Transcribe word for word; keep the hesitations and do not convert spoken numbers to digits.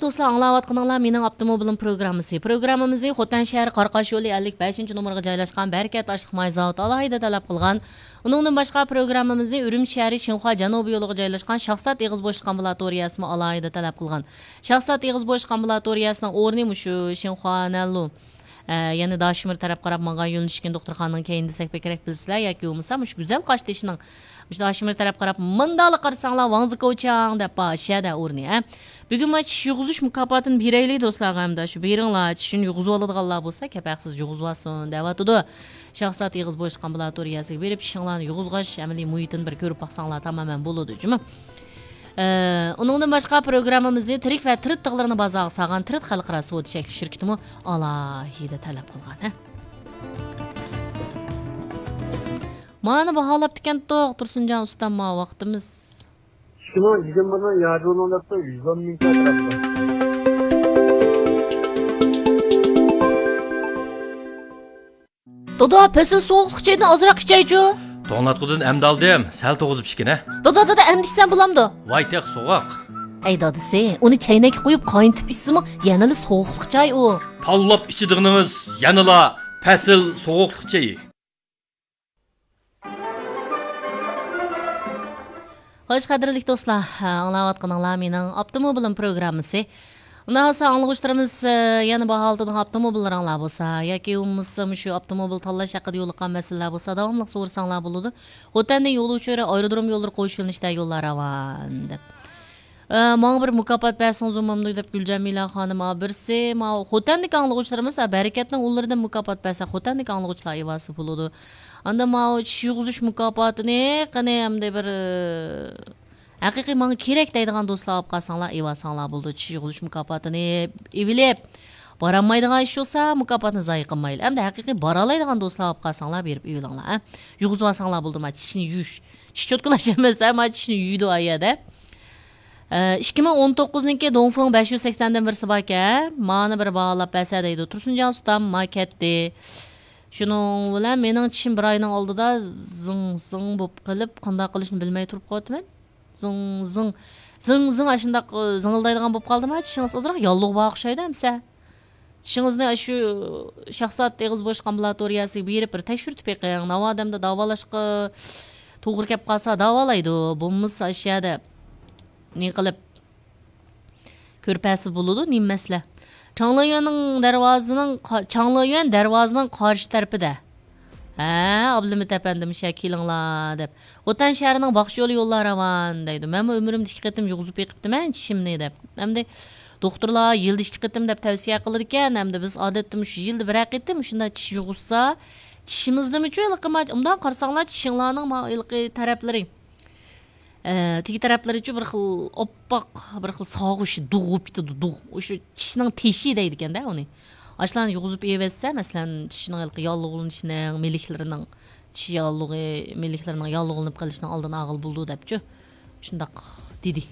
دوستلار، ئاڭلاۋاتقىنىڭلار مېنىڭ ئاپتوموبىلىم پروگراممىسى. پروگراممىمىزنى خوتەن شەھىرى قاراقاش يولى ئەللىك بەشىنچى نومۇرغا جايلاشقان بەرىكەت ئاشلىق ماي زاۋۇتى ئالاھىدە تەلەپ قىلغان. ئۇنىڭدىن باشقا، پروگراممىمىزنى ئۈرۈمچى شەھىرى شىنخۇا جەنۇبىي يولىغا جايلاشقان شاھزات ئېغىز بوشلۇق ئامبۇلاتورىيەسىمۇ ئالاھىدە تەلەپ قىلغان. شاھزات ئېغىز بوشلۇق ئامبۇلاتورىيەسىنىڭ ئورنى مۇشۇ شىنخۇا نەنلۇ، ئە، يەنى داشىمىر تەرەپ قاراپ ماڭغان يۆنىلىشكىن دوختۇرخانىنىڭ كەينىدە دېسەك بەكرەك بىلىسىلەر، ياكى بولمىسا مۇشۇ گۈزەل قاشتېشىنىڭ مۇشۇ داشىمىر تەرەپ قاراپ مۇنداقلا قارىساڭلار، ۋاڭزىكوچياڭ دەپ بار شەدە ئورنى، ھە. بۈگۈن مانا چىش يۇغۇزۇش مۇكاپاتىنى بېرەيلى دوستلارغا، ھەمدە شۇ بېرىڭلار، چىشىنى يۇغۇزۇۋالىدىغانلار بولسا كەپ ھەقسىز يۇغۇزۇۋالسۇن دەۋاتىدۇ. شاخسات ئېغىز بوشلۇق ئامبۇلاتورىيەسىگە بېرىپ، چىشىڭلارنى يۇغۇزغاچ، ئەمەلىي مۇھىتىنى بىر كۆرۈپ باقساڭلار تامامەن بولىدۇ جۇمۇ. ئە، ئۇنىڭدىن باشقا، پروگراممىمىزنى تىرىك ۋە تىرىت تىغلىرىنى بازارغا سالغان تىرىت خەلقئارا سودا چەكلىك شىركىتىمۇ ئالاھىدە تەلەپ قىلغان، ھە. مانا باھالاپتىكەنتۇق، تۇرسۇنجان ئۇستام، ما ۋاقتىمىز. ئىككى مىڭ يىگىرمىنىڭ ياردىمىنىڭ دەپتۇ، يۈز ئون مىڭ تەتۈرەپتۇ. دادا، پەسىل سوغۇقلۇق چېيىدىن ئازراق ئىچەيچۇ. توڭلاتقۇدىن ئەمدى ئالدىم، سەل توغۇزۇپ ئىچكىنە. دادا، دادا، ئەمدى ئىچسەم بولامدۇ؟ ۋاي تېخى سوغۇق. ئەي دادىسى، ئۇنى چەينەككە قۇيۇپ قاينىتىپ ئىچسىمۇ يەنىلا سوغۇقلۇق چاي ئۇ. تاللاپ ئىچىدىغىنىڭىز يەنىلا پەسىل سوغۇقلۇق چېيى. خوش، قەدىرلىك دوستلار، ئاڭلاۋاتقىنىڭلار مېنىڭ ئاپتوموبىلىم پروگراممىسى. ئۇنداق بولسا ئاڭلىغۇچىلىرىمىز، ئە، يەنە باھالىتىدىغان ئاپتوموبىللىرىڭلار بولسا ياكى بولمىسا مۇشۇ ئاپتوموبىل تاللاش ھەققىدە يولۇققان مەسىلىلەر بولسا داۋاملىق سورىساڭلار بولىدۇ. خوتەندىن يول ئۇچۇرى ئايرودروم يوللىرى قوشۇلۇنۇشتا يوللار راۋان دەپ. ئە، ماڭا بىر مۇكاپات بەرسىڭىز بولمامدۇ دەپ گۈلجەمىلە خانىم، ئا، بىرسى، ماۋۇ خوتەندىكى ئاڭلىغۇچىلىرىمىز، ئا، بەرىكەتنىڭ ئۇلىرىدىن مۇكاپات بەرسە، خوتەندىكى ئاڭلىغۇچىلار ئىۋاسى بولىدۇ. ئاندىن ماۋۇ چىش يۇغۇزۇش مۇكاپاتىنى قېنى ئەمدى بىر، ئە، ھەقىقىي ماڭا كېرەك دەيدىغان دوستلار ئاپ قالساڭلار، ئىۋاساڭلار بولىدۇ. چىش يۇغۇزۇش مۇكاپاتىنى ئېۋىلىپ، بارالمايدىغان ئىش بولسا، مۇكاپاتنى زايە قىلمايلى. ئەمدى ھەقىقىي بارالايدىغان دوستلار ئاپ قالساڭلار، بېرىپ ئېۋىلىڭلار، ئە. يۇغۇزۇۋالساڭلار بولىدۇ، ما، چىشنى يۇيۇش. چىش چوتكىلاش ئەمەس، ئە، ما، چىشنى يۇيىدۇ ئا يەردە. ئە، ئىككى مىڭ ئون توققۇزنىڭكى دونفېڭ بەش يۈز سەكسەندىن بىرسى باركەن، مانا بىر باھالاپ بەرسە دەيدۇ. تۇرسۇنجان ئۇستام، ما كەتتى. شۇنىڭ بىلەن مېنىڭ چىشىم بىر ئاينىڭ ئالدىدا زىڭ زىڭ بولۇپ قېلىپ، قانداق قىلىشنى بىلمەي تۇرۇپ قالىۋاتىمەن. زىڭ زىڭ، زىڭ زىڭ ئاشۇنداق، ئە، زىڭىلدايدىغان بولۇپ قالدىما؟ چىشىڭىز ئازراق ياللۇغ بار ئوخشايدۇ ئەمسە. چىشىڭىزنى ئاشۇ شاخسات ئېغىز بوشلۇق ئامبۇلاتورىيەسىگە بېرىپ بىر تەكشۈرتۈپ بېقىڭ. ناۋادا ئەمدى داۋالاشقا توغرا كەپ قالسا داۋالايدۇ. بولمىسا ئاشۇ يەردە نېمە قىلىپ كۆرپەسى بولىدۇ، نېمە مەسىلە؟ چاڭلىيۈەننىڭ دەرۋازىنىڭ قا-، چاڭلىيۈەن دەرۋازىنىڭ قارشى تەرىپىدە. ھە، ئابلىمىت ئەپەندىم، شە كېلىڭلار دەپ. خوتەن شەھىرىنىڭ باخشى يولى يوللار راۋان دەيدۇ. مەنمۇ ئۆمرۈمدە ئىككى قېتىم يۇغۇزۇپ بېقىپتىمەن چىشىمنى دەپ. ئەمدى دوختۇرلار يىلدا ئىككى قېتىم دەپ تەۋسىيە قىلىدىكەن. ئەمدى بىز ئادەتتە مۇشۇ يىلدا بىرەر قېتىم مۇشۇنداق چىش يۇغۇزسا، چىشىمىزدىمۇچۇ ھېلىقى ما-، مۇنداق قارىساڭلار چىشىڭلارنىڭ ما-، ھېلىقى تەرەپلىرى. ئە، تېگى تەرەپلىرىچۇ بىر خىل ئاپئاق، بىر خىل ساغۇش دۇغ بولۇپ كېتىدۇ، دۇغ. ئۇشۇ چىشنىڭ تېشى دەيدىكەن-دە ئۇنى. ئاشۇلارنى يۇغۇزۇپ ئېۋەتسە، مەسىلەن، چىشنىڭ ھېلىقى ياللۇغلىنىشىنىڭ، مىلىكلىرىنىڭ، چىش ياللۇغى، مىلىكلىرىنىڭ ياللۇغلىنىپ قېلىشىنىڭ ئالدىنى ئالغىلى بولىدۇ دەپچۇ. شۇنداق دېدى.